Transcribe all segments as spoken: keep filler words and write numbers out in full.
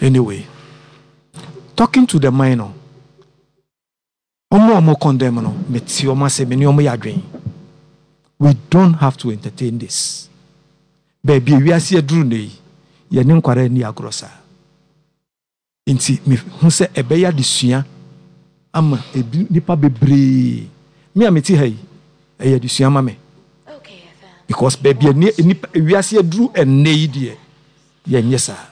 Anyway, talking to the minor, ɔmo a ɔmo condemn no, mete ɔmo ase, me ne ɔmo yɛ adwene. We don't have to entertain this. Baabi ewiase aduru ne yi, yɛne nkwadaa ani agorɔ saa. Nti mehu sɛ ɛbɛyɛ adesua ama ebi nipa bebree. Me a mete ha yi, ɛyɛ adesua ma me. Because baabi a nipa ewiase aduru ɛnnɛ yi deɛ, yɛnyɛ saa.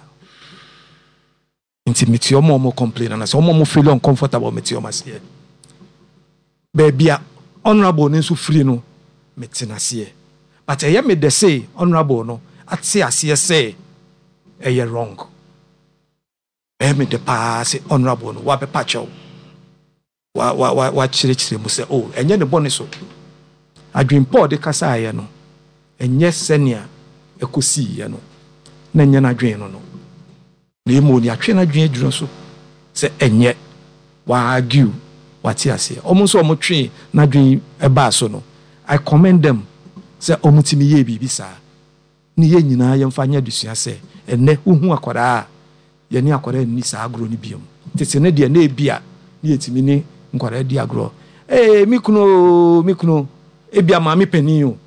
Nti mete ɔmo a ɔmo complain anasɛ ɔmo a ɔmo feel uncomfortable, mete ɔmo aseɛ. Baabi a honourable no nso firi no, mete n'aseɛ. But ɛyɛ me dɛ sɛ honourable no ate aseɛ sɛ ɛyɛ wrong. Ɛyɛ me dɛ paa sɛ honourable no wabɛpa kyɛw, wa wa wa wakyerɛkyerɛ mu sɛ, oh, ɛnyɛ ne bɔne so. Adwempɔ a ɔde kasaeɛ no, ɛnyɛ sɛnea ɛkɔsiiɛ no na ɛnyɛ n'adwene no no na emu ni atwe n'adwene adwene so sɛ ɛnyɛ wa argue, wate aseɛ. Ɔmo nso ɔmo twe n'adwene ɛbaa so no, I commend them sɛ ɔmo tumi yɛ biribi saa ne yɛn nyinaa yɛmfa nyɛ adesua sɛ ɛnɛ wohu akwadaa a, yɛne akwadaa nni saa agorɔ no biom. Tete ne deɛ, na ebi a ne yɛtumi ne nkwadaa di agorɔ. Ee, mi kunu o, mi kunu, ebi a maame panin o,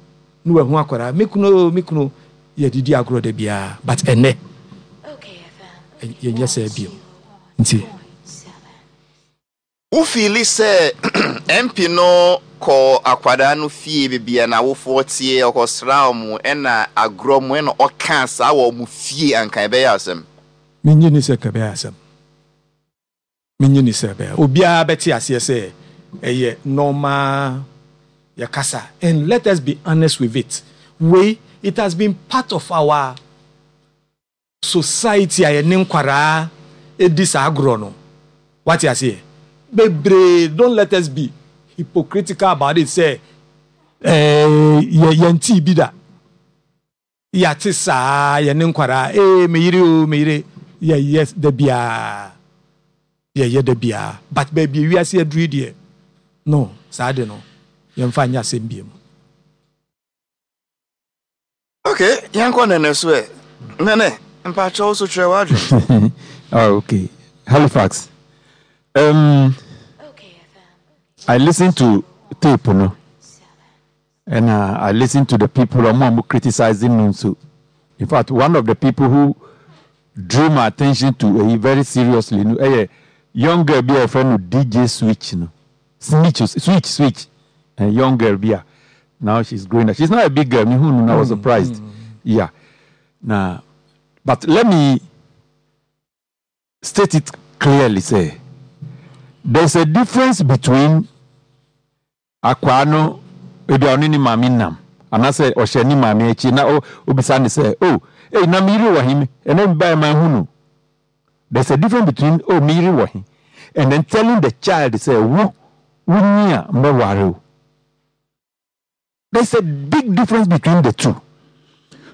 ne wahu akwadaa, mi kunu o, mi kunu, yɛde di agorɔ da biara. But ɛnɛ yɛnyɛ saa biom nti. Wo feel sɛ M P no kɔ akwadaa no fie beebi a n'awofoɔ tie, ɔkɔsra ɔmo ɛna agorɔ mu ɛna ɔka saa wɔ ɔmo fie, anka ɛbɛyɛ asɛm? Menye ni sɛ kɛbɛyɛ asɛm. Menye ni sɛ ɛbɛyɛ, obiara bɛte aseɛ sɛ ɛyɛ normal yɛkasa. And let us be honest with it, wei it has been part of our society a yɛne nkwaraa edi saa agorɔ no, wate aseɛ bebree. Don't let us be hypocritical about it sɛ ɛɛ yɛ yɛn tii bi da yɛate saa yɛne nkwaraa. Ee, meyere o, meyere, yɛyɛ da biara, yɛyɛ da biara. But baabi ewiase aduru yi deɛ no, saa de no yɛmfa nyɛ asɛm biem. Ok, yɛnkɔ Nene so. Ɛ Nene, mpakyɛw, so kyerɛ w'adwene. Oh, okay. Halifax. Um, I listen to tape, no, and uh, I listen to the people who are criticizing no so. In fact, one of the people who drew my attention to uh, very seriously, no, a young girl bi a friend no D J Switch, no, Switch, Switch, Switch, a young girl bi a now she's growing up. She's not a big girl. Me who I was surprised. Yeah. Now, but let me state it clearly, say there's a difference between akwaa no ebi a ɔne ne maame nam anaasɛ ɔhyɛ ne maame akyi na o obisa ne sɛ, "Oh, ei, na meyere wɔ he? Ɛnɛ mi ba ma hu no." There's a difference between, "Oh, meyere wɔ he?" and then telling the child sɛ wo wonyi a mbɛware o. There's a big difference between the two,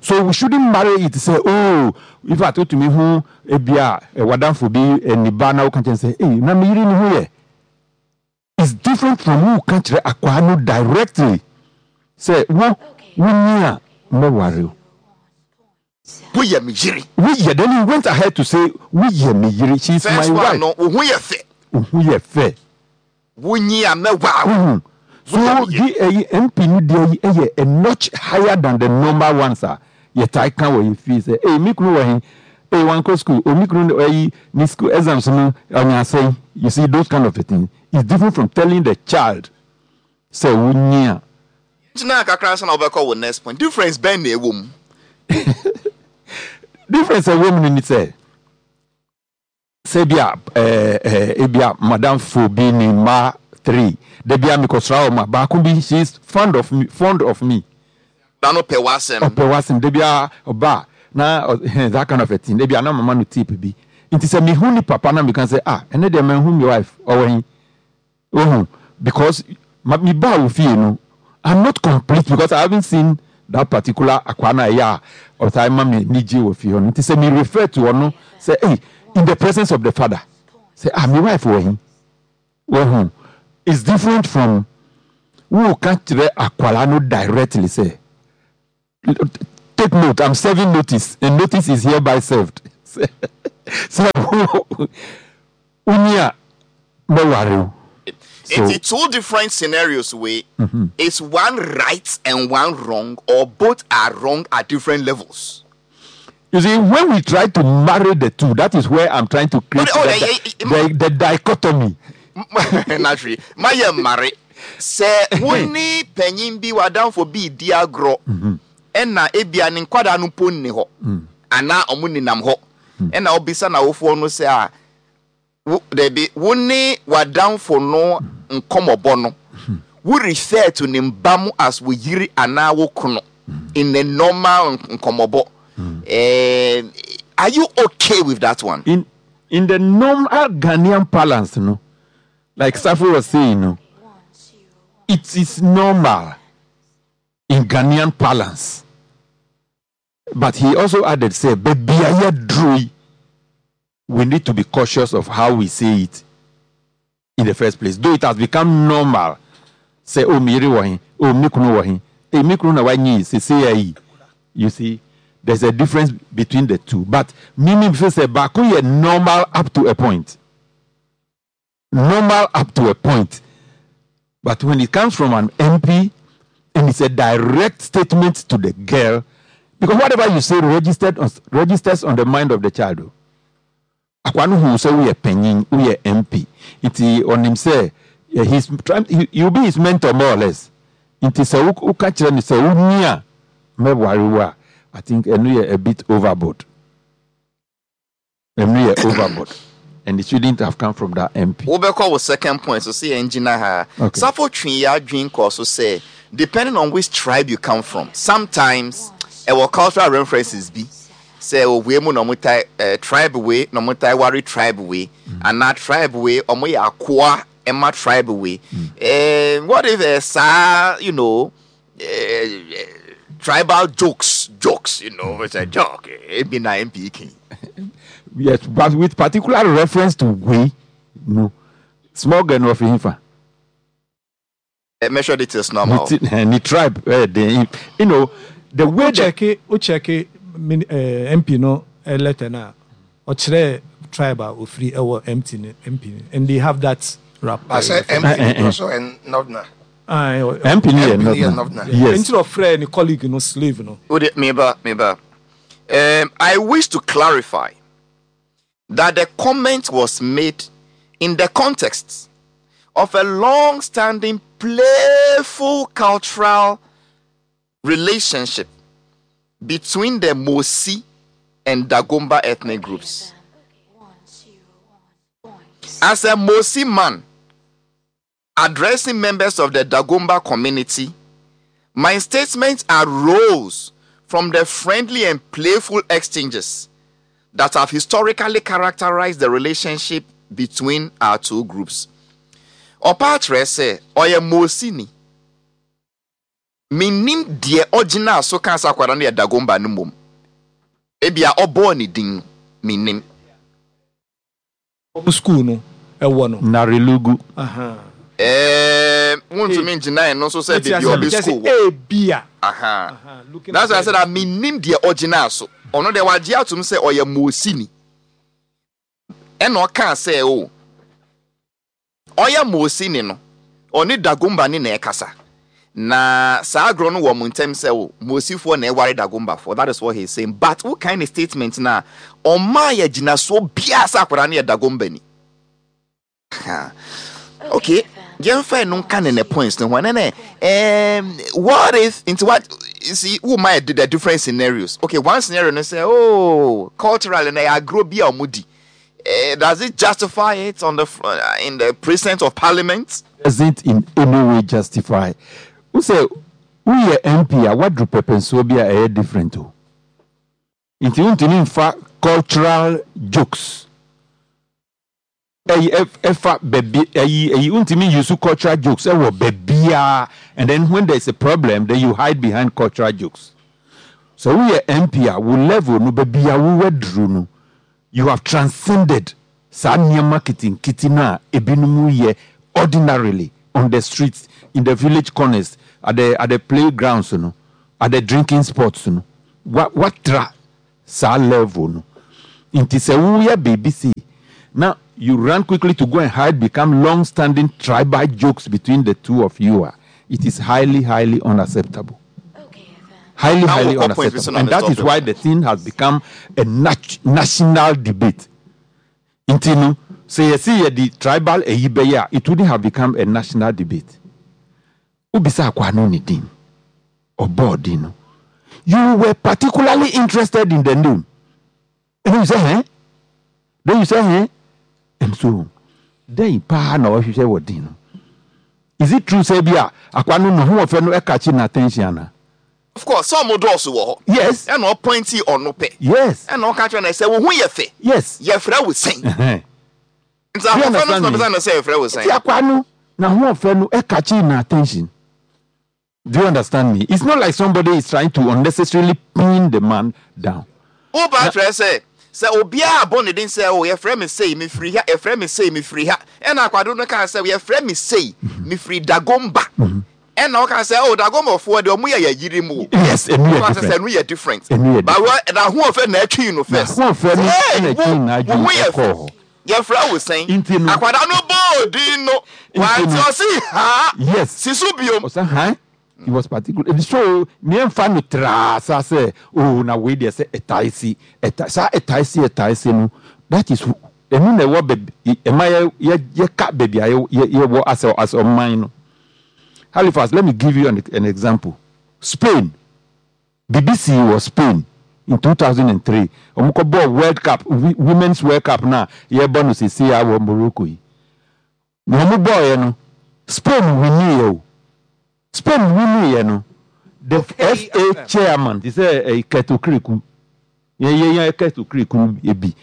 so we shouldn't marry it say, oh, in fact, wotumi hu ebi a wadamfo bi niba na woka kyerɛ sɛ, "Ei, na meyere ne ho yɛ." It's different from wo ka kyerɛ akwaa no directly sɛ wo wonyi a mbɛware o. Woyɛ me yere. Woyɛ. Then he went ahead to say, "Woyɛ me yere, she is my First wife." one no, wo ho yɛ fɛ. Wo ho yɛ fɛ. Wonyi a mɛwaa wo. Mhm. So di ɛyi M P no deɛ yi ɛyɛ a notch higher than the normal ones a yɛtae ka wɔ yɛ fie sɛ, "Ee, mi kunu wɔ he? Ee, wankɔ school o, mi kunu ɛyi ne school exams no ɔnya asɛn." You see, those kind of a thing is different from telling the child sɛ wonyi a. Gyina kakra nsa na wobɛkɔ wo next point. Difference bɛn na ɛwɔ mu? Difference ɛwɔ mu no ni sɛ sɛ bi a ɛɛ ɛɛ ebi a madamfo bi ne mma three, dabi a mekɔsra wɔn a, baako bi, she is fond of me fond of me Na no pɛ w'asɛm. Ɔpɛ w'asɛm. Dabi a ɔba na ɔ that kind of a thing, dabi a na mama no tip bi. Nti sɛ mehu ni papa na meka sɛ, "Ah, ɛnɛ deɛ manhu mi wife, ɔwɔ he?" Ohun because ma mi ba wɔ fie no, I'm not complete because I haven't seen that particular akwa na ɛyɛ a ɔtaa ma mi ni gye wɔ fie hɔ no. Nti sɛ mi refer to ɔno sɛ, hey, in the presence of the father sɛ, "Ah, mi wife wɔ he?" Ohun it's different from wo ka kyerɛ akwara no directly sɛ, "Take note, I'm serving notice and notice is hereby served." Sɛ wonyi a mɛware wo. So, it's two different scenarios where mm-hmm. Is one right and one wrong, or both are wrong at different levels? You see, when we try to marry the two, that is where I'm trying to create oh, the, the, the, the dichotomy. Naturally, my marry. Sɛ wo ne panyin bi w'adamfo bi di agorɔ ɛna ebia ne nkwadaa no mpo nni hɔ anaa ɔmo nenam hɔ ɛna ɔbisa n'awofoɔ no sɛ a wo dabi wo ne w'adamfo no nkɔmɔbɔ no wo refer to ne mba mu as wo yiri anaa wo kono in a normal nkɔmɔbɔ eh, are you okay with that one? In in the normal Ghanaian parlance, no, like Safo was saying, no, it is normal in Ghanaian parlance. But he also added, say, "Baby, we need to be cautious of how we say it in the first place. Though it has become normal, say, oh, me yere wɔ he, oh, me kunu wɔ he, eh, me kunu na wanyi, say, say, ayi. You see, there's a difference between the two. But me, me, say, baako yɛ normal up to a point. Normal up to a point. But when it comes from an MP, and it's a direct statement to the girl, because whatever you say registered on, registers on the mind of the child. Akwa no hu sɛ woyɛ panyin, woyɛ MP. Nti ɔnim sɛ eh, he's trying, he, you'll be his mentor more or less. Nti sɛ wo- woka kyerɛ no sɛ wonyi a mɛware wo a, I think ɛno yɛ a bit overboard. Ɛno yɛ overboard. And it shouldn't have come from that MP. wobɛkɔ wo second point so sɛ yɛngyina ha Okay. safo twe yɛ adwene kɔ so sɛ depending on which tribe you come from sometimes ɛwɔ cultural references bi sɛ owei mu na ɔmo tae eh, tribe wei na ɔmo tae ware tribe wei anaa tribe wei ɔmo yɛ akoa ɛma tribe wei eh, what if eh, saa you know eh, eh, tribal jokes jokes you know it's a joke ebi na mp king Yes, but with particular reference to we, no. Small girl no of himfa. eh, measure details normal Ni tribe, eh, the, you know, the way that wokyɛke wokyɛke mini- eh, mp no eh, letter no a ɔkyerɛ tribe a ofiri ɛwɔ mt ne mp no and they have that rap I say Eh, eh, MP eh. also and Northerner. Ah, eh, MP ni yɛ MP ni yɛ Northerner. Northerner. Yes. nti na ɔfrɛ ne colleague no slave no Wode, meba, meba. Um, I wish to clarify that the comment was made in the context of a long-standing playful cultural relationship between the Mosi and Dagomba ethnic groups. As a Mosi man addressing members of the Dagomba community, my statement arose from the friendly and playful exchanges that have historically characterized the relationship between our two groups. Ɔpa akyerɛ sɛ ɔyɛ Mosini. Menim deɛ ɔgyina so ka sɛ akwadaa no yɛ Dagomba no mmom. Ebia ɔbɔɔ ne din no, menim. ɔmo school no ɛwɔ no Narilugu. Aha. Ɛɛm, wontumi ngyina ɛno nso sɛ Ɛti baabi asɛm ɔbɛ kyerɛ sɛ school wɔ. ebia Aha. Aha, looking That's why I at said that menim deɛ ɔgyina so. Ɔno deɛ wagye atom sɛ ɔyɛ Mosini. Ɛna ɔkaa sɛ o, ɔyɛ Mosini no, ɔne Dagomba ne na ɛkasa. Na saa agorɔ no wɔ mo ntɛm sɛ o, Mosifoɔ na ɛware Dagombafoɔ. That is what he is saying. But what kind of statement na ɔmaa yɛ gyinasoɔ biara sɛ akwadaa no yɛ Dagomba ni. Ha. Okay, yɛmfa ɛno nka ne ne points no ho ɛnɛ nɛ um, what if nti what you see who might do the different scenarios okay one scenario no say oh culturally na yɛ agorɔ bi a ɔmo di Eh, does it justify it on the fr- uh, in the presence of parliament Doesn't in any way justify. Wo sɛ woyɛ MP a waduru pɛpɛnsoɔ bi a ɛyɛ different o. Nti wontumi mfa cultural jokes. Ɛyi ɛf- ɛfa baabi ɛyi ɛyi wontumi use cultural jokes ɛwɔ baabiara and then when there is a problem then you hide behind cultural jokes. So woyɛ MP a wo level no baabi a wowɔ no you have transcended saa nneɛma ketenkete no a ebinom yɛ ordinarily on the streets in the village corners at the at the playgrounds no at the drinking spots no wa watra saa level no Nti sɛ woyɛ biribi sei na you run quickly to go and hide become long standing tribal jokes between the two of you a, it is highly highly unacceptable. Highly highly unacceptable. And that is why the thing has become a nat national debate. Nti no, sɛ yɛsi yɛde tribal ɛyi bɛyɛ a, it wouldn't have become a national debate. Wobisa akwa no ne din, ɔbɔɔ din no. You were particularly interested in the name. And you say, eh? Then you say, eh? And so, then paa na ɔhwehwɛ wɔ din no. Is it true sɛ bi a akwa no ne ho ɔfɛ no ɛkakye na attention ana? Of course, sɛ ɔmo dɔɔso wɔ hɔ. Yes. Ɛna ɔpointi ɔno pɛ. Yes. Ɛna ɔka kyerɛ no sɛ wo ho yɛ fɛ. Yes. Yɛfrɛ wo sɛn. Nti ahoɔfɛ no so na ɔbisa no sɛ yɛfrɛ wo sɛn. Nti akwa no na ahoɔfɛ no ɛkakye na attention. Do you understand me? It's not like somebody is trying to unnecessarily pin the man down. Woba kyerɛ sɛ sɛ obiara abɔ ne din sɛ o yɛfrɛ me sei mefiri ha, yɛfrɛ me sei mefiri ha, ɛna akwado no kaa sɛ yɛfrɛ me sei mefiri Dagomba, ɛna ɔka sɛ o Dagombafoɔ deɛ ɔmo yɛ yɛyiri mu o. Yes, ɛnu yɛ different. Sɛ ɛnu yɛ different. Ɛnu yɛ different. But n'ahoɔfɛ na ɛtwi no first. N'ahoɔfɛ no na ɛtwi n'adwene ɛkɔɔ hɔ. Yɛfrɛ wo sɛn? Nti no. Akwadaa no bɔɔ din no. Wante ɔsi ha. Yes. Si so biom. Ɔsɛ han. He was particular. So miɛnfa no traa sa sɛ oh na wei deɛ sɛ ɛtae si ɛtae saa ɛtae si ɛtae si no, that is ɛnu na ɛwɔ baabi ɛma yɛ yɛ yɛka baabi a yɛ yɛ yɛwɔ asɛ asɛ ɔman no. Halifax, let me give you an, an example. Spain, B B C wɔ Spain in two thousand and three, wɔn kɔ bɔɔ World Cup, Women's World Cup na yɛbɔ no sisi a wɔ Morocco yi na wɔn bɔɔyɛ no, Spain wini yɛ o. Spain wini yɛ no, the F A chairman ti sɛ ɛyɛ Kurt Okraku, yɛn yɛn yɛn Kurt Okraku ebi,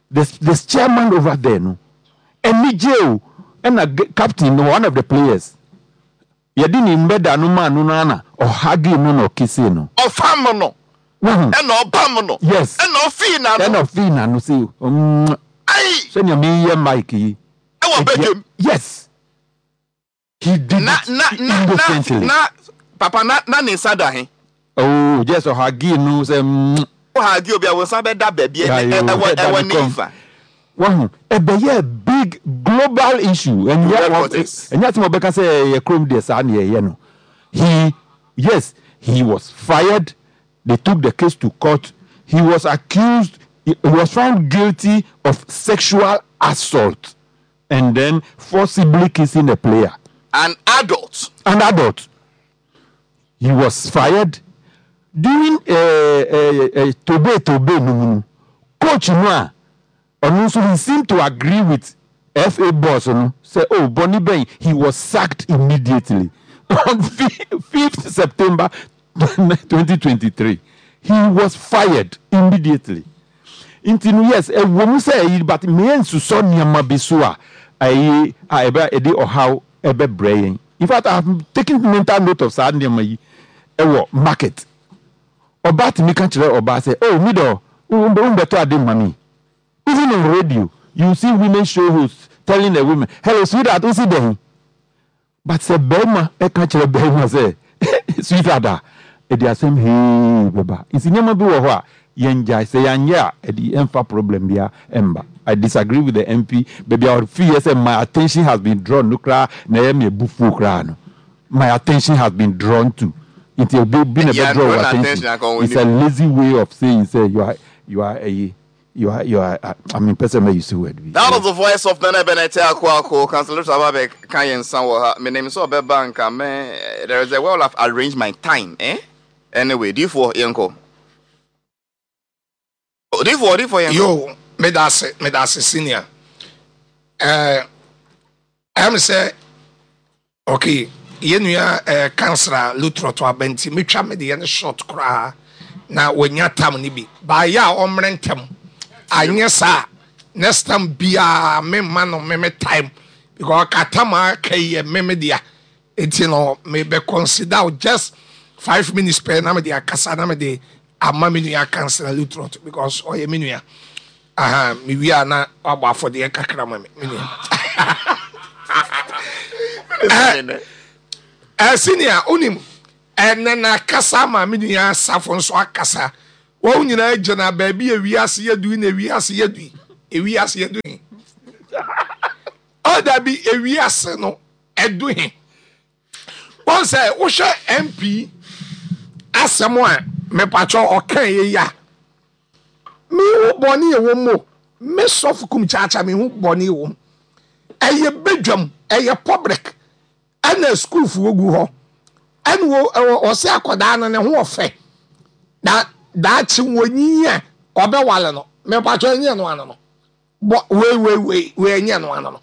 the the chairman over there no, ɛni o, ɛna captain no, one of the players, yɛde ne mbɛda no maa no no ana ɔhug no na ɔkiss no. Ɔfam no. Ɛna ɔbam no. Yes. Ɛna ɔfii n'ano. Ɛna ɔfii n'ano sɛ mm ayi sɛnea meyɛ mike yi. Ɛwɔ bedwam. Yes, he did na it na na innocently. Na na papa na na ne nsa da he? Oh, just ɔhug no sɛ mm. Ɔhug obi a wɔn nsa bɛda baabi ɛwɔ ɛwɔ ne nfa. Wahu, ɛbɛyɛ big global issue. Ɛnyɛ ɛnyɛ asɛm a ɔbɛka sɛ ɛyɛ kurom deɛ saa ne yɛyɛ no. He, yes, he was fired. They took the case to court. He was accused, he was found guilty of sexual assault and then forcibly kissing a player. An adult. An adult. He was fired during uh, uh, uh, tobe tobe no mu no, coach no a ɔno nso, he seemed to agree with F A boss no sɛ oh, bɔnni bɛn, he was sacked immediately on fifth September twenty twenty-three. He was fired immediately. Nti no, yes, ɛwɔ mu sɛ ɛyi, but mmea nsusɔ nneɛma bi so a ɛyi a ɛbɛ ɛde ɔhaw ɛbɛbrɛ yɛn. In fact, I have taken mental note of saa nneɛma yi. Ɛwɔ market, ɔbaa tumi ka kyerɛ ɔbaa sɛ, "Oh, mi dɔ, wo bɛtɔ ade ma mi." Even on radio, you see women show hosts telling the women, "Hello, sweetheart, o si dɛn?" But sɛ bɛrima ɛka kyerɛ bɛrima sɛ "sweetheart" a, ɛde asɛm hee bɛba. Nti nneɛma bi wɔ hɔ a yɛn gyae sɛ yɛanyɛ a, ɛde ɛmfa problem bia ɛmba. I disagree with the M P. Baabi a ɔfi yɛ sɛ "my attention has been drawn" no koraa na ɛyɛ mi ebufuo koraa no. "My attention has been drawn to" nti obi bi na bɛ draw your attention. It's a lazy way of saying say you are you are a you are you are I mean, person may use the word. That was the voice of Nana Bennett Akuako. Councillor Sababe kan yɛn nsa wɔ ha. Menim sɛ ɔbɛba nka me. There is a way I've arranged my time, eh? Anyway, difoɔ, yɛnkɔ. Difoɔ, difoɔ, yɛnkɔ. Yo, medase, medase, senior. Eh, ɛm sɛ okay, yɛn nua eh, Councillor Lutterodt aba nti metwa me deɛ no short koraa na wanya tam no bi baayɛ a ɔmmerɛ ntɛm anyɛ saa. Next time biara memma no meme time because ɔka tam a aka yi yɛ meme dea, nti no mebɛ consider just five minutes pɛ na mede akasa na mede ama me nua Councillor Lutterodt because ɔyɛ me nua. Aha, mewie a na wabɔ afɔdeɛ kakra ma me me nua. Ɛ senior, wonim ɛnɛ na akasa ma me nua Asafo nso akasa. Wɔn nyinaa gyina baabi a ewiase yɛ du na ewiase yɛ du ewiase yɛ du he. Ɔdabi, ewiase no ɛdu he. Wɔn sɛ wohwɛ M P asɛm a mepatwɔ ɔka yɛ yi a, mihu bɔne ɛwɔ mu o. Me sɔfo Kum Kyaakyaa, mihu bɔne ɛwɔ mu. Ɛyɛ badwam, ɛyɛ public, ɛna sukuufoɔ gu hɔ, ɛna wɔ ɛwɔ ɔsɛ akwadaa no ne ho ɔfɛ na daakye wɔnyiyi a ɔbɛwale no. Mepatwɔ, ɛnyɛ no ano no bɔ wei wei wei wei, ɛnyɛ no ano no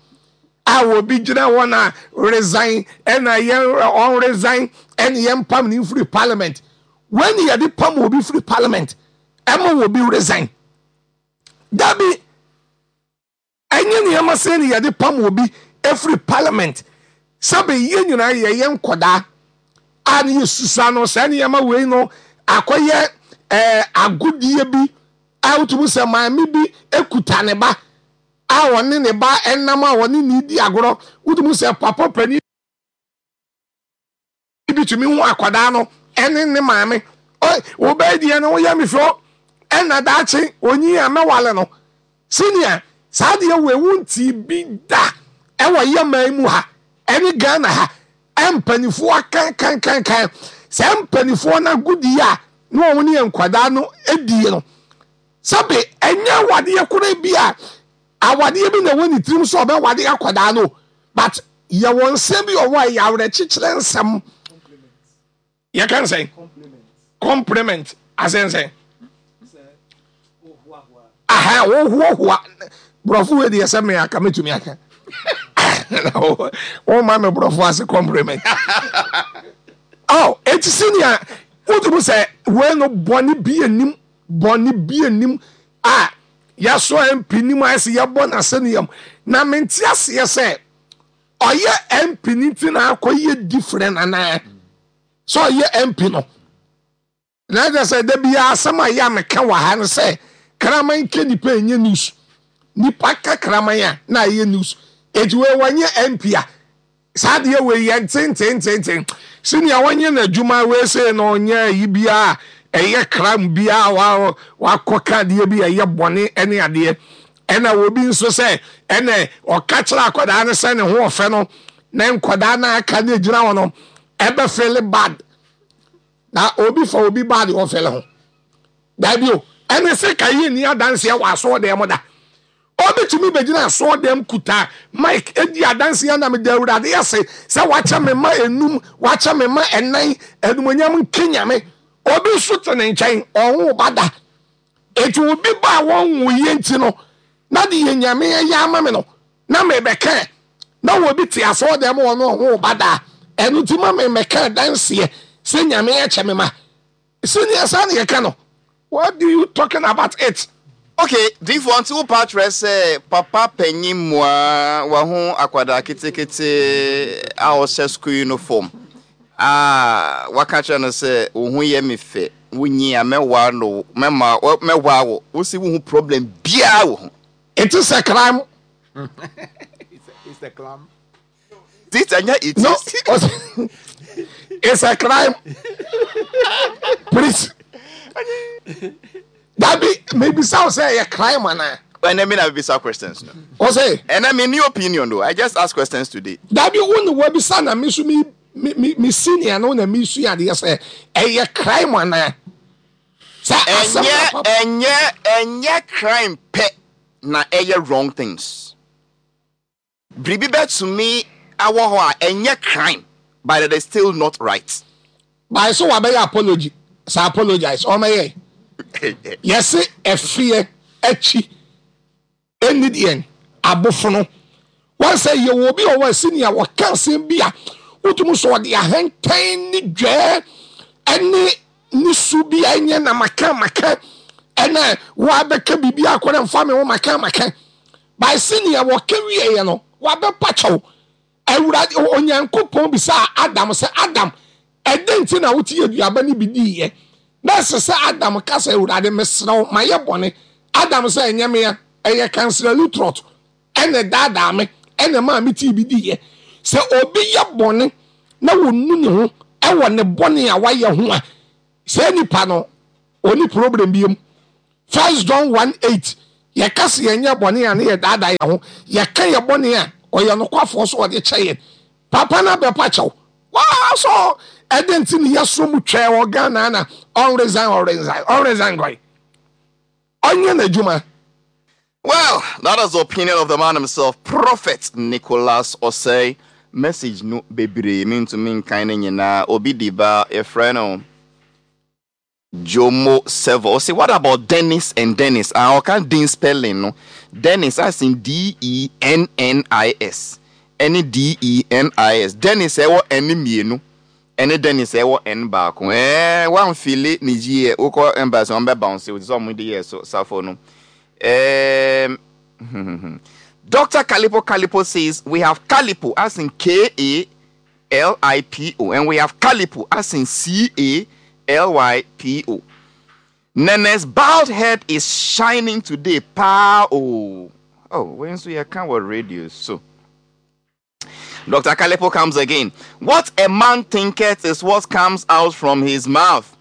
a obi gyina hɔ na resign, ɛna yɛn ɔn resign, ɛna yɛn pam ne firi parliament. Wei ni yɛde pam obi firi parliament ɛma obi resign? Dabi, ɛnyɛ nneɛma sɛ ne yɛde pam obi efiri parliament. Sɛbi, yɛn nyinaa yɛyɛ nkɔdaa a ne yɛ susa no, saa nneɛma wei no akɔyɛ ɛɛ agodie bi a wotumi sɛ maame bi ekuta ne ba a ɔne ne ba ɛnam a ɔne ne di agorɔ. Wotumi sɛ papa panin bi tumi hu akwadaa no ɛne ne maame, ɔ wobɛyɛ deɛ no woyɛ me fɛ, ɛna daakye onyi a mɛwale no. Senior, saa deɛ wei wonti bi da ɛwɔ yɛ man mu ha ɛne Ghana ha. Mpanimfoɔ akankankankan saa mpanimfoɔ no agodie a na wɔn ne yɛ nkwadaa no die no, sɛbe, ɛnyɛ awadeɛ koraa bi a awadeɛ bi na ɛwɔ ne tirim sɛ ɔbɛwade akwadaa no, but yɛwɔ nsɛm bi ɔwɔ a ɛyɛ awerɛkyekyerɛ nsɛm. Yɛka nsɛn compliment asɛnsɛn aha, wohoahoa. Borɔfo wei deɛ, sɛ me aka mɛtumi aka, woma me borɔfo ase compliment. Oh, eti senior, wotumi sɛ wei no bɔne bi anim, bɔne bi anim a yɛsɔ M P nim ayɛ sɛ yɛbɔ n'asɛnniam na mente aseɛ sɛ ɔyɛ M P ne ti na akɔyɛ different anaa sɛ ɔyɛ M P no na ɛkyɛ sɛ da biara asɛm a yɛ a meka wɔ ha no sɛ kraman ke nipa ɛnyɛ news, nipa ka kraman a na ɛyɛ news. Eti wei wɔnyɛ M P a, saa deɛ wei yɛ ntentententen. Senior, wɔnyɛ n'adwuma wei sɛ na ɔnyɛ ayi biara ɛyɛ kram biara wa wakɔ ka adeɛ bi ɛyɛ bɔne ɛne adeɛ, ɛna obi nso sɛ ɛnɛ ɔka kyerɛ akwadaa no sɛ ne ho ɔfɛ no na nkwadaa no aka ne gyina hɔ no ɛbɛ feel bad na obi fa obi bad ɔfeel ho. Dabi o, ɛne sɛ ka yie ni adanseɛ wɔ asɔɔdan mu da. Obi tumi bɛgyina asɔɔdan kuta mic edi adanseɛ na meda Awurade ase sɛ wakyɛ me ma enum, wakyɛ me ma ɛnan, animonyam nke Nyame. Obi nso te ne nkyɛn, ɔho ba da. Eti obi ba a wɔn wo yie nti no na de yɛ Nyame ɛyɛ ama me no na mebɛka na obi te asɔɔdan mu, ɔno ɔho ba da, ɛno ti ma me mɛka adanseɛ sɛ Nyame ɛkyɛ me ma. Senior, saa ne yɛka no. What do you talking about it? Okay, difoɔ, nti wo pa kyerɛ sɛ papa panyin mua waho akwadaa ketekete a ɔhyɛ school uniform a waka kyerɛ no sɛ wo ho yɛ me fɛ, wonyi a mɛwa no, mɛma mɛwa wo, wosi wo ho problem biara wɔ ho? It is a crime. It's a crime. It ɛnyɛ it No, is. It's a crime, please. Dabi, mebisa wo sɛ ɛyɛ crime anaa? Ɛnɛ mi na bisa questions no. Ɔsɛ Ɛnɛ mi new opinion though, I just ask questions today. Dabi, wo ne wabisa na me so me me me me senior no na me sua adeɛ sɛ ɛyɛ crime anaa sɛ asɛm na Ɛnyɛ papa ɛnyɛ ɛnyɛ crime pɛ na ɛyɛ wrong things. Biribi bɛtumi awɔ hɔ a ɛnyɛ crime, but it is still not right. Báyìí sɛ wabɛyɛ apology sɛ apologize ɔmɛyɛ yɛse ɛfeɛ akyi ɛni deɛ abofono wɔn sɛ yɛwɔ obi a ɔwɔ senior, wɔka asɛm bi a wotumi sɛ ɔde ahantan ne dwɛɛ ɛne ne su bi a ɛnyɛ na maka maka ɛna wɔabɛka biribi akɔrɛ mfa me ho maka maka. By senior, wɔka wieɛ no wabɛpa kyɛw. Awurade Onyankopɔn bisa Adam sɛ, "Adam, ɛdɛn nti na wote aduaba no bi diiɛ?" Na ɛsɛ sɛ Adam ka sɛ, "Awurade, mesrɛ wo, mayɛ bɔne." Adam sɛ, "Ɛnyɛ mea, ɛyɛ Councillor Lutterodt ɛna daadaa me ɛna maa me tii bi diiɛ." Sɛ obi yɛ bɔne na wɔnu ne ho ɛwɔ ne bɔne a wayɛ ho a, saa nipa no Oni problem bi mu. First John one eight yɛka sɛ yɛnyɛ bɔne a ne yɛdaadaa yɛn ho. Yɛka yɛ bɔne a ɔyɛ nokwafoɔ so ɔde kyɛ yɛn. Papa no abɛpa kyɛw. Waa so ɛde nti ne yɛso mu twɛɛ wɔ Ghana na ɔnresign ɔresign ɔnresign gɔi. Ɔnyɛ n'adwuma. Well, that is the opinion of the man himself, Prophet Nicholas Osei. Message no bebree mintumi nkan ne nyinaa. Obi di ba yɛfrɛ no Jomo Sevo. Say, what about Dennis and Dennis? I can't din spelling no. Dennis as in D E N N I S. Any D E N I S. Dennis ɛwɔ N mmienu. Ɛne Dennis ɛwɔ N baako. Eh, one fili ni G wokɔ embassy wɔn bɛ bounce o ti sɛ ɔmo de yɛ so safo no. Um, Doctor Kalipo Kalipo says we have Kalipo as in K A L I P O, and we have Kalipo as in C A L Y P O. Nene's bald head is shining today. Pa oh oh, when so you can't work radio so. Doctor Kalipo comes again. What a man thinketh is what comes out from his mouth,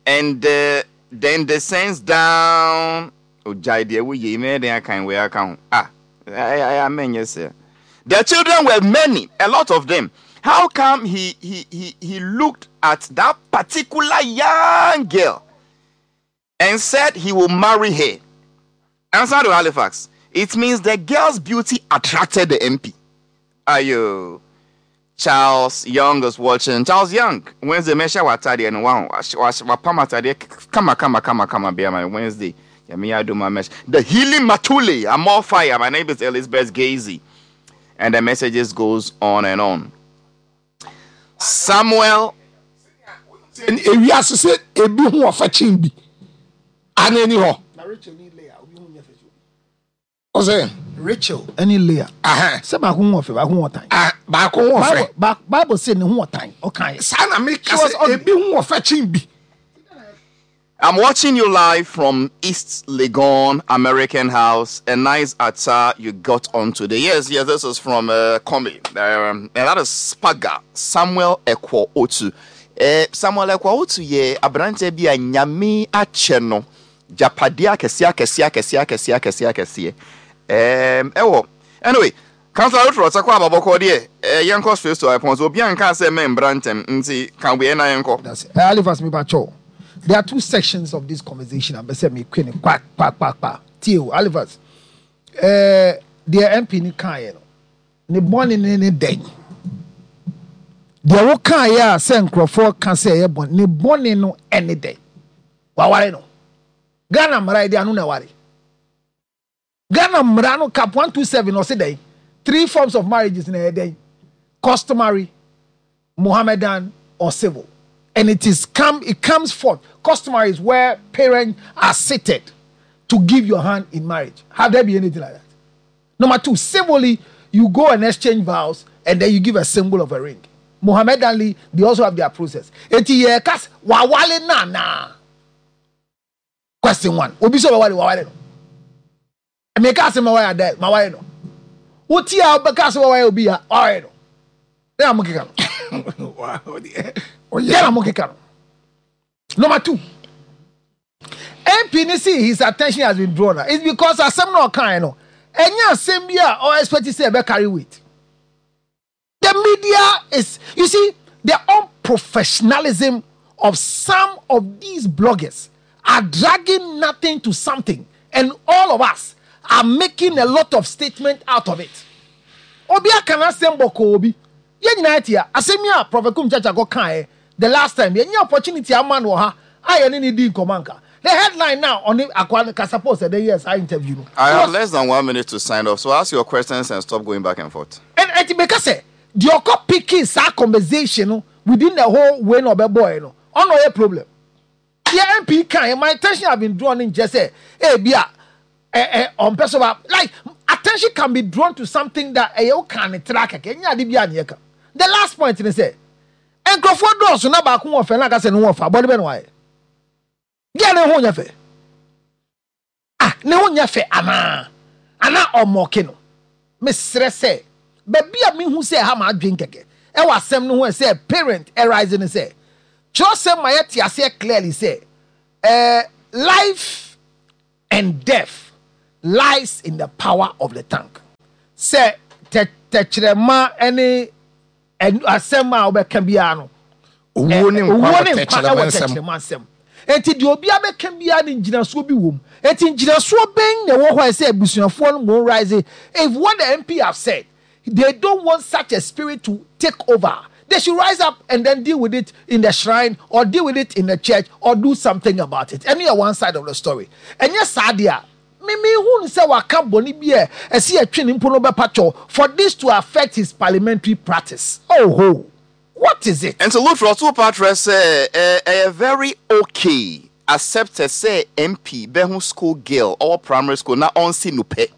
and uh, then descends down. Oh, jai dear, we ye me then I can wear account. Ah, I I I mean yes sir. The children were many, a lot of them. How come he he he he looked at that particular young girl and said he will marry her? Answer to Halifax. It means the girl's beauty attracted the M P. Ayo. Charles Young is watching. Charles Young, Wednesday, Mesha Watadi and wow, Wapama Kama Kama Kama Kama be my Wednesday. Yami do my mesh. The healing Matule, I'm all fire. My name is Elizabeth Gazy. And the messages goes on and on. Samuel. Ebi asese ebi hu ofa bi. Anani ho. Na Rachel ni Leah, obi hu nyefe. Ose Rachel any Leah. Aha. Se ba hu ofa, ba hu otan. Ah, ba ko hu ofa. Bible say ne hu otan. Okay. Sa na me ka se ebi hu ofa bi. I'm watching you live from East Legon American House. A nice attire you got on today. Yes, yes, this is from uh, Kombi. Um, and that is Spaga Samuel Ekwo Otu. Uh, Samuel Ekwo Otu ye abrante bi a nyame ache no. Japadia kesia kesia kesia kesia kesia kesia. Um, ewo. Anyway, Councilor Rutro takwa ababoko de eh yenko straight to I point. Obi anka se me brantem nti kan we na yenko. That's it. Alifas me ba cho. There are two sections of this conversation. I'm saying me queen quack quack quack quack. Tio Alivas, eh, the M P ni kan no, ne born ne ne den. The wo kan ya say nkrofo kan say e born ne born no any day. Wa ware no. Ghana mra dey anu na ware. Ghana mra no cap one two seven or say dey. Three forms of marriages in a day. Customary, Mohammedan or civil. And it is come. It comes forth. Customary is where parents are seated to give your hand in marriage. Have there be anything like that? Number two, civilly, you go and exchange vows, and then you give a symbol of a ring. Mohammedanly, they also have their process. Eti ye kas wawale na na. Question one. Obi so wawale wawale no. Me kas ma wawale adel ma wawale no. Uti ya obi kas wawale obi ya wawale no. Then I'm okay. Wow. Number two, M P ni see his attention has been drawn. It's because asem no kind no. Enya asem bi a or expect say be carry weight. The media is, you see, the unprofessionalism of some of these bloggers are dragging nothing to something, and all of us are making a lot of statement out of it. Obi akana sembo ko obi. Ye nyina tia asem ya Prophet Kum Chacha go kan the last time ye nya opportunity ama no ha aye ne di nkomanka. The headline now on the akwa ka suppose the yes I interview no. I have less than one minute to sign off, so ask your questions and stop going back and forth. And and because say the okọ picking sa conversation within the whole way no be boy no on no problem. The M P kan my attention have been drawn in just say eh bia eh eh on person like attention can be drawn to something that eh you can track enya de bia na ka. The last point is say, nkrofo dɔɔso na baako wɔ fɛ na aka sɛ ne ho ɔfa bɔde bɛ no ayɛ gya ne ho nyɛ fɛ ah ne ho nyɛ fɛ anaa ana ɔmɔke no mesrɛ sɛ baabi a mehu sɛ ha ma adwen kɛkɛ ɛwɔ asɛm no ho sɛ parent arise ne sɛ kyerɛsɛm ma yɛte aseɛ clearly sɛ Uh, life and death lies in the power of the tongue. Sɛ tɛkyerɛma ne asɛm a wobɛka biara no, owuo ne nkwa wɔ tɛkyerɛma nsɛm. Enti deɛ obiara bɛka biara ne ngyinasoɔ bi wɔ mu. Enti ngyinasoɔ bɛn na ɛwɔ hɔ a ɛsɛ abusuafoɔ no mo rise? If what the M P have said, they don't want such a spirit to take over, they should rise up and then deal with it in the shrine or deal with it in the church or do something about it. Ɛno yɛ one side of the story. Ɛnyɛ saa deɛ a, mimi hu sɛ waka bɔne bi a ɛsi ɛtwe ne mpo no bɛpa kyɛw for this to affect his parliamentary practice. Oh ho, what is it? And so Luther two patra sɛ ɛyɛ very okay accepted sɛ M P bɛho school girl or primary school na ɔnsi no pɛ.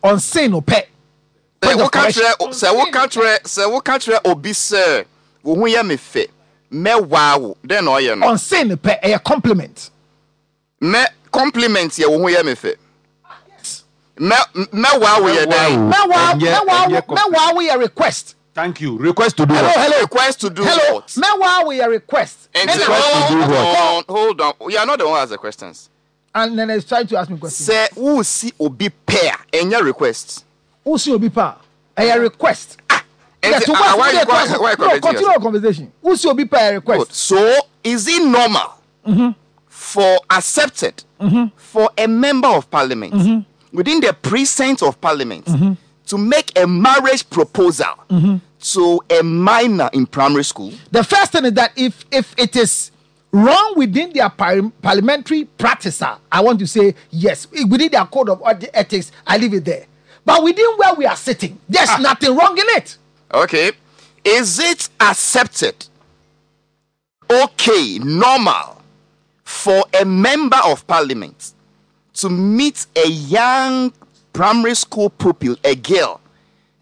Ɔnsi no pɛ. Sɛ woka kyerɛ sɛ woka kyerɛ sɛ woka kyerɛ obi sɛ wo ho yɛ me fɛ, mɛwaa wo, dɛn na ɔyɛ no? Ɔnsi no pɛ, ɛyɛ compliment. Mɛ compliment yɛ wo ho yɛ me fɛ. Mɛ mɛwaa wo yɛ dɛn? Mɛwaa mɛwaa mɛwaa wo yɛ request. Thank you. Request to do Hello, what? Hello. Request to do Hello. what? Mɛwaa wo yɛ request. And Ɛna- hold To do what? on, hold on. You are not the one who has the questions. And then he's trying to ask me questions. Sɛ wusi obi pɛ a, ɛnyɛ request? Wusi obi pa, ɛyɛ request. Nti, Yeah, to ah, what- why you yeah, call- to- why you no, correcting continue yourself? your conversation. Wusi obi pa, ɛyɛ request. Good. So is it normal for accepted for a member of parliament within the precinct of parliament to make a marriage proposal to a minor in primary school? The first thing is that if if it is wrong within their par- parliamentary practice, ah, I want to say yes. Within their code of ethics, I leave it there. But within where we are sitting, there's nothing wrong in it. Okay. Is it accepted, okay, normal for a member of parliament to meet a young primary school pupil, a girl,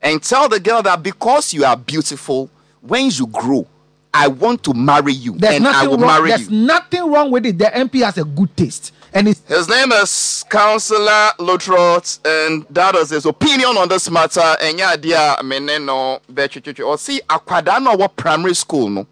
and tell the girl that because you are beautiful, when you grow, I want to marry you There's and I nothing will wrong. marry There's you? nothing wrong with it. The M P has a good taste, and it's His name is Councillor Lutterodt, and that is his opinion on this matter. And yeah, dear, me no betwitwitwi. Or see, akwadaa no ɔwɔ primary school no,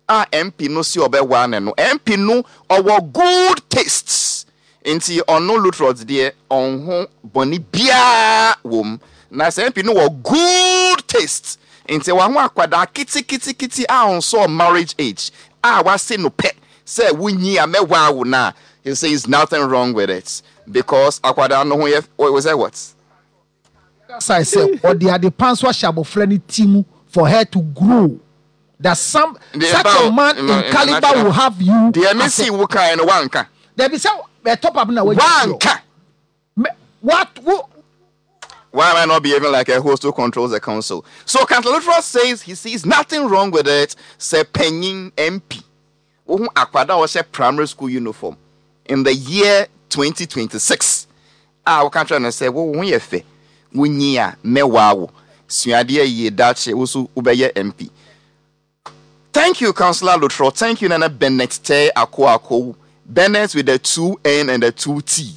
a M P no si ɔbɛwa ne no. M P no ɔwɔ good tastes. Nti ɔno Lutterodt deɛ, ɔnho bɔne biara wɔ mu. Na sɛ M P no wɔ good taste, nti waho akwadaa kitikiti a ɔnsɔ marriage age a wase no pɛ sɛ wunyi a mɛwa wo na, he says nothing wrong with it because akwadaa no ho yɛ. What was that, what? As I said, ɔde ade pan so ahyɛ abɔfra ne ti mu for her to grow. That some The such a about- man in- in in caliber natural- will have you. Deɛ me as si a- wo kan no, wanka. There be some a top up na Wanka. What? Who, Why am I not behaving like a host who controls the council? So Councillor Lutterodt says he sees nothing wrong with it. Sɛ panyin M P wohu akwadaa a ɔhyɛ primary school uniform in the year twenty twenty-six a woka kyerɛ no sɛ wo ho yɛ fɛ, wonyi a mɛwaa wo, suadeɛ yie, dakye wo so wobɛyɛ M P. Thank you, Councillor Lutterodt. Thank you, Nana Bennett Te Akoako. Bennett with the two N and the two T.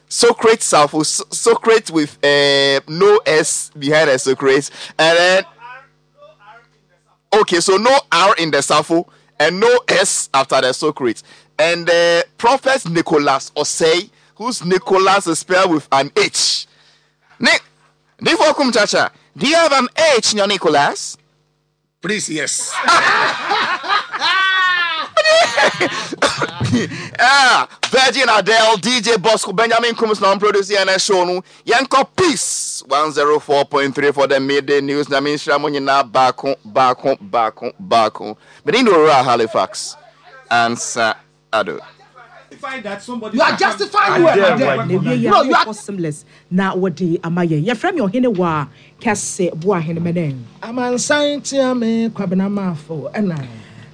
Socrates Safo, Socrates with uh, no S behind the Socrates. And then, okay, so no R in the Safo and no S after the Socrates. And uh, Prophet Nicholas Osei, whose Nicholas is spelled with an H. Nick, Nifokum Chacha, do you have an H in your Nicholas? Please, yes. Ah, Virgin Adele, D J Bosco, Benjamin Kums, non producer and show no. Yanko Peace one oh four point three for the midday news. Na me nhyira mo nyinaa baako baako baako baako. But in the Halifax. Answer Ado. That somebody You are justifying you and Adele, Adele. Na ewie yɛ No, you are akɔ seamless na wɔde ama yɛn. Yɛfrɛ me ɔhene wɔ a kɛse boa ahene mɛnɛ. Amansan tia me Kwabena Maafo ɛna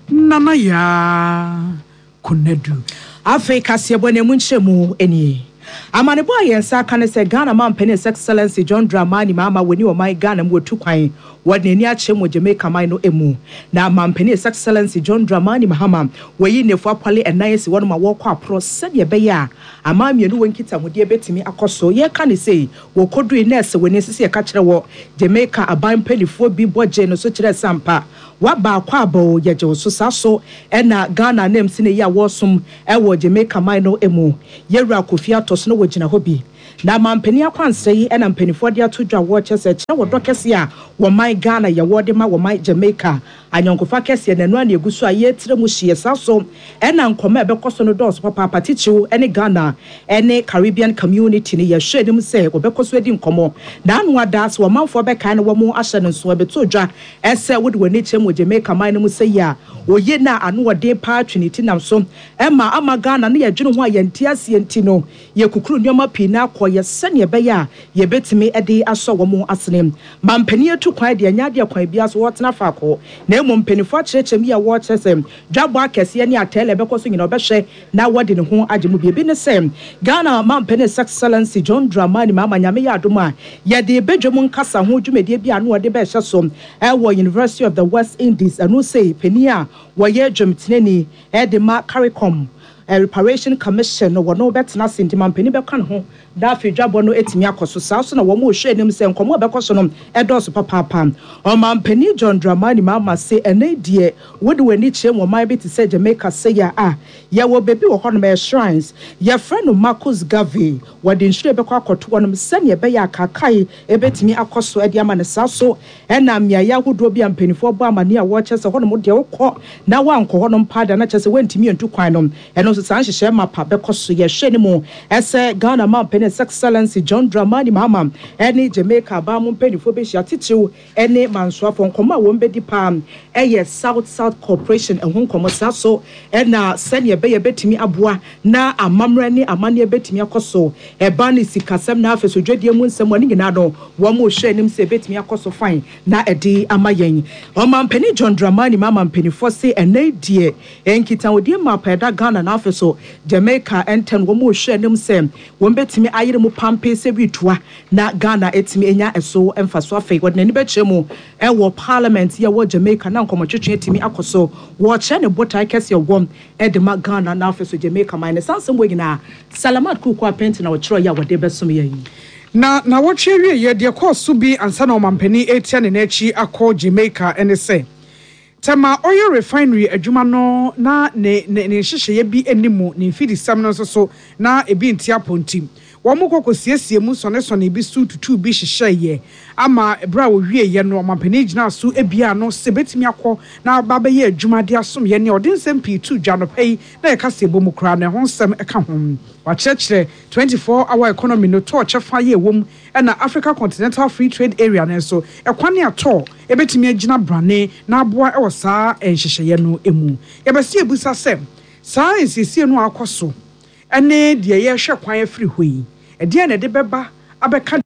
Nana Yaa Konadu. Afei kaseɛbɔ na emu nkyerɛ mu nie. Amanebɔ a yɛn nsa aka ne sɛ Ghana mampanin His Excellency John Dramani Mahama wɔni ɔman Ghana mu wɔtu kwan wɔde n'ani akyerɛ mu Jamaica man no mu. Na mampanin His Excellency John Dramani Mahama wɔyi nnefo apɔle ɛnan asi wɔn ma wɔrekɔ aporɔ sɛdeɛ ɛbɛyɛ a aman mmienu wɔ nkitahodie bɛtumi akɔ so. Yɛka ne sei wɔkɔdui nɛɛsɛ wɔni sisi yɛka kyerɛ wɔ Jamaica aban mpanimfoɔ bi bɔ gye no so kyerɛ sampa waba akɔ abɔ yɛgye wo so saa so ɛna Ghana nam si ne yi a wɔresom ɛwɔ Jamaica man no mu yɛwura Kofi atɔ so na wɔgyina hɔ bi. Na mampanin akwansra yi ɛna mpanimfoɔ de ato dwa wɔkyɛ sɛ kyerɛ wɔ dɔ kɛseɛ a wɔman Ghana yɛwɔ de ma wɔman Jamaica anyɔnkofa kɛseɛ na ɛno ana egu so a yɛtire mu hyia saa so ɛna nkɔmɔ a ɛbɛkɔ so no dɔɔso papaapa titiriw ɛne Ghana ɛne Caribbean Community no yɛhwɛ anim sɛ wɔbɛkɔ so adi nkɔmɔ na ano ada sɛ wɔmanfoɔ bɛkae no wɔn ahyɛ no nso ɛbɛto dwa ɛsɛ wode wɔn ani kyerɛ mu wɔ Jamaica man no mu sɛ yi a oye na ano ɔden paa twe ne ti nam so ɛma ama Ghana no yɛdwene ho a yɛnte aseɛ nti no yɛkukuru nneɛma pii na akɔ yɛ sɛnea ɛbɛyɛ a yɛbɛtumi de asɔ wɔn asene. Mampanin atu kwan deɛ ɛnyɛ adeɛ kwan biara so wɔtena faako na mmom mpanimfoɔ akyerɛkyerɛ mu yi a wɔrekyerɛ sɛ dwabɔ akɛseɛ ne atɛlɛ ɛbɛkɔ so nyinaa ɔbɛhwɛ na wɔde ne ho agye mu. Biribi ne sɛ Ghana mampanin His Excellency John Dramani Mahama Nyame yɛ adom a yɛde badwam nkasa ho dwumadie bi a ano wɔde bɛhyɛ so ɛwɔ University of the West Indies. Ɛno sɛ panin a wɔyɛ dwamtenani ɛde ma CARICOM Reparation Commission no wɔn bɛtena ase nti mampanin bɛka ne ho na afei dwabɔ no etumi akɔ so. Saa so na wɔn rehwɛ anim sɛ nkɔmɔ a ɛbɛkɔ so no ɛdɔɔso papaapa. Ɔmampanin John Dramani Mahama se ɛnɛ deɛ wode w'ani kyerɛ mu ɔman bi te sɛ Jamaica sɛya a yɛwɔ baabi wɔ hɔnom ɛyɛ shrines yɛfrɛ no Marcus Garvey wɔde nhwiren bɛkɔ akɔto hɔnom sɛnea ɛbɛyɛ akakae ebɛtumi akɔ so ɛde ama no. Saa so ɛna mmeaeɛ ahodoɔ bi a mpanimfoɔ bɔ amane a wɔrekyɛ sɛ hɔnom deɛ wokɔ na woankɔ hɔnom paa da na kyerɛ sɛ woantumi antu kwan no ɛno nso saa nhyehyɛ mapa bɛkɔ so. Yɛhwɛ ne mu ɛsɛ Ghana mampanin His Excellency John Dramani Mahama ɛne Jamaica aban mu mpanimfoɔ bɛhyia titiriw ɛne mansoafoɔ nkɔmɔ a wɔn bɛdi paa ɛyɛ South South Cooperation ɛho nkɔmɔ. Saa so ɛna sɛnea ɛbɛyɛ bɛtumi aboa na amammerɛ ne amanneɛ bɛtumi akɔ so ɛba ne sikasɛm na afei so dwadie mu nsɛm wɔn nyinaa no wɔn mo hwɛ anim sɛ ɛbɛtumi akɔ so fine na ɛde ama yɛn. Ɔmampanin John Dramani Mahama mpanimfoɔ se ɛnɛ deɛ nkitahodie mapa ɛda Ghana na afei so Jamaica ɛntɛn wɔn mo hwɛ anim sɛ wɔn bɛtumi ayere mu pampe sɛ bi na Ghana ɛtumi anya ɛso mfaso. Afei wɔde n'ani bɛkyerɛ mu ɛwɔ parliament yɛ wɔ Jamaica na nkɔmɔtwetwe atumi akɔ so wɔkyerɛ ne botae kɛseɛ wɔm ɛde ma Ghana na afei so Jamaica man ne sansɛm wɔ nyinaa. Salamat Kuku Apɛnti na wɔkyerɛ yɛ a wɔde bɛsom yɛn yi. Na na wɔtwe wie yɛ deɛ kɔɔ so bi ansa na ɔmampanin etia ne n'akyi akɔ Jamaica ɛne sɛ Tema Oil Refinery adwuma no na ne ne ne nhyehyɛeɛ bi anim ne mfidisɛm no nso so na ebi nti apɔntim wɔn mo kɔkɔ siesie mu sɔnesɔne bi so tutu bi hyehyɛeɛ ama ebere a wɔwie yɛ no ɔmampanin gyina so ebia no sɛ betumi akɔ na aba bɛyɛ adwuma de asom yɛ ne ɔde nsɛm pii tu dwa no pɛ yi na yɛka sɛ ebo mu koraa na ɛho nsɛm ɛka ho wakyerɛkyerɛ twenty-four hour economy no tɔɔ kyɛfa yɛ ɛwɔ mu ɛna Africa Continental Free Trade Area no nso ɛkwan ne atɔ ebetumi agyina brane na aboa ɛwɔ saa nhyehyɛeɛ no emu. Yɛbɛsi ebusa sɛ saa nsiesie no akɔ so ɛne deɛ yɛhwɛ kwan afiri hɔ yi ɛdeɛn na ɛde bɛba abɛka.